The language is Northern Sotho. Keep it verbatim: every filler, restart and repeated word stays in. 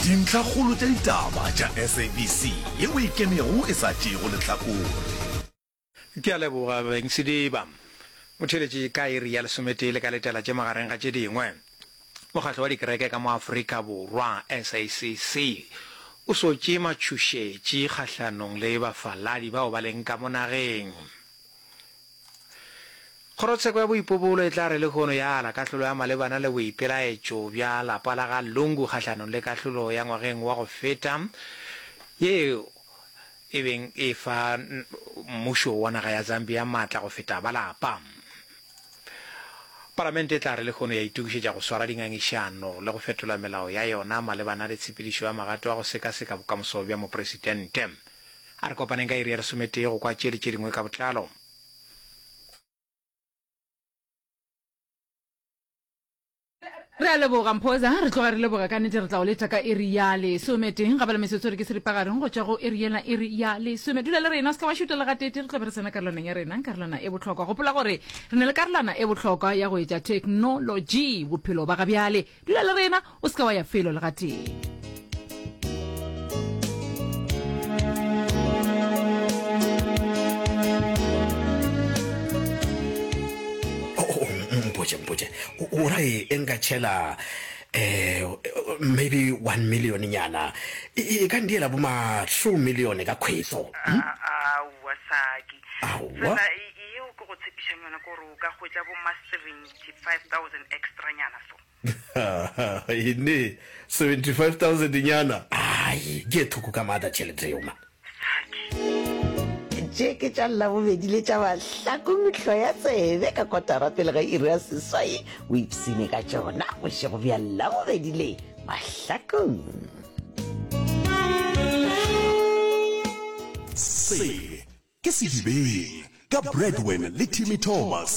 Dintlhakgolo tša ditaba tša SABC yeo e ikemego e sa tšeego lehlakore. Ke a leboga beng Sediba. Motheeletši ka iri ya lesometee le ka letela tše magareng ga tše dingwe. Mokgatlo wa dikereke ka mo Afrika Borwa, SACC, o sotše matšhošetši kgahlanong le bafaladi bao ba leng ka mo nageng. Kgorotsheko ya boipobolo e tla re lehono ya ala kahlolo ya malebana le boipelaetšo bja lapa la ga Lungu kgahlanong le kahlolo ya ngwageng wa go feta yeo e beng e fa mmušo wa naga ya Zambia maatla go feta ba lapa. Palamente e tla re lehono ya itokišetša go swara dingangišano le go fetola melao ya yona malebana le tshepedišo ya magato a go sekaseka bokamoso bja mopresidente. A re kopaneng ka iri ya lesometee go kwa tše le tše dingwe ka botlalo. Re a leboga Mphoza, re tloga re leboga ka nnete. Re tla o leta ka iri ya lesometeng ga bala metsotso re ke seripagareng go tšwa go iri yela iri ya lesome. Dula le rena, o se ka wa šuta le gatete, re tla be re tsena karolwaneng ya rena, karolwana e bohlokwa. Gopola gore re na le karolwana e bohlokwa ya go etša theknolotši bophelo ba ga bjale. Dula le rena, o se ka wa ya felo le gatee. Mpotše, mpotše, o ra e nka tšhela um maybe one million nyana e ka ndiela bo ma two million ka kgwetso? Aowa Saki. Aowa. Fela yeo ke go tshepišang yona ke gore o ka hwetša bo ma seventy five thousand extra nyana so. Ene seventy five thousand nyana? Ai, ke e thoko ka maatla tšhelete yeo ma. Saki. Tše ke tša Labobedi le tša Mahlakong hloya tsebe ka kotara pele ga iri ya seswai o ipshine ka tšona bošego bja Labobedi le Mahlakong. Se ke Sedibeng ka Bradwin le Timmy Thomas.